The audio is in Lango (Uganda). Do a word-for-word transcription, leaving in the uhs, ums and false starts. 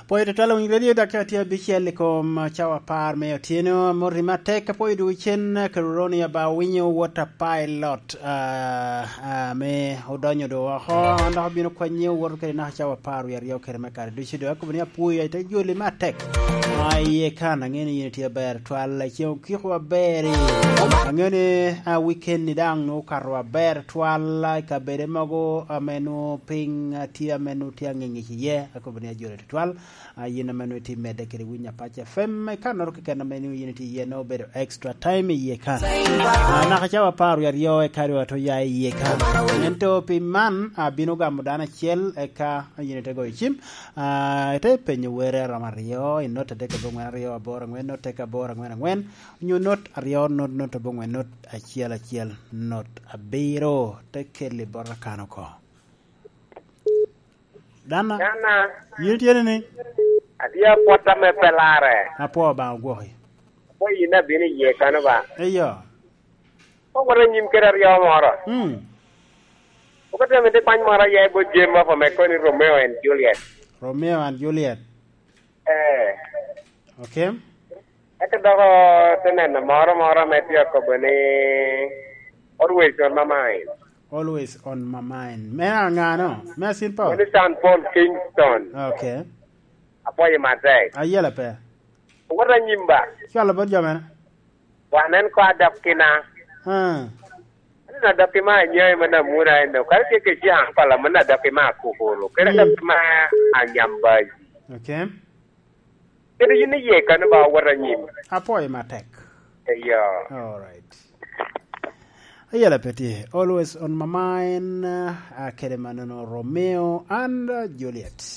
Pwoyo tutwal winy radio, dakika tye abicel i kom cawa apar me otyeno. Amoti matek, apwoyo dwogo cen, Keruroni aba winyo wot a pilot, ah, ah, me odonyo do oko. An dok abino kwanyi owoto kede naka cawa apar wie aryo kede me kare ducu do. Akobo ni apwoyo, ite joli matek. Ah, iye kan, ang'e ni yin itye aber twal, ceŋ okiko aber. Ang'e ni, ah, weekend ni daŋ nwoŋo okato aber twal, ah, i kabede mogo ame nwoŋo piny, ah, tye ame nwoŋo tye aŋeŋec iye. Akobo ni ajoli tutwal. A, yin ame nwoŋo itye medde kede winyo Apac F M, i kannoro keken ame nwoŋo yin itye iye, nwoŋo obedo extra time iye kan. A, naka cawa apar wie aryo eka dwe ato ya iye kan. Ento pi man, abino gamo dano acel, eka yin ite goyo cim. A, ite penyo were aromo aryo, i not adek abongwen aryo aboro angwen, not adek aboro angwen angwen, onyo not aryo, not, not abongwen, not acel acel, not abiro, te keli bot akan oko. Dana. Dana. Yin itye ni? Atye apwot ame pe larre. Apwoo Obaŋa ogwoki. Apwoo yin abino iye kano ba. Eyo. Kok wot anyim kede aryo moro. Mm. Kok atye amito kwany moro aye bot Jane Moffat ame koni Romeo and Juliet. Romeo and Juliet. Eh. Okay. Eka dok te neno moro moro ame tye akobo ni Always on my mind. Always on my mind. Me aŋano? Me Saint Paul? Mano Saint Paul Kingston. Okay. Apwoyo matek. Ayela pe. Wot anyim ba. Cwalo bot jo mene? Wan en ko adok kina. Ah. Aneno adok kima anyoyo me namuna eno. Kare tye kec i aŋ kola mano adok kima akukuru. Kere adok kima anyambaji. Okay. Kede yin iye kano ba owot anyim. Apwoyo matek. Eyo. All right. Ayela pe tye. Always on my mind, uh, kede manono Romeo and, uh, Juliet.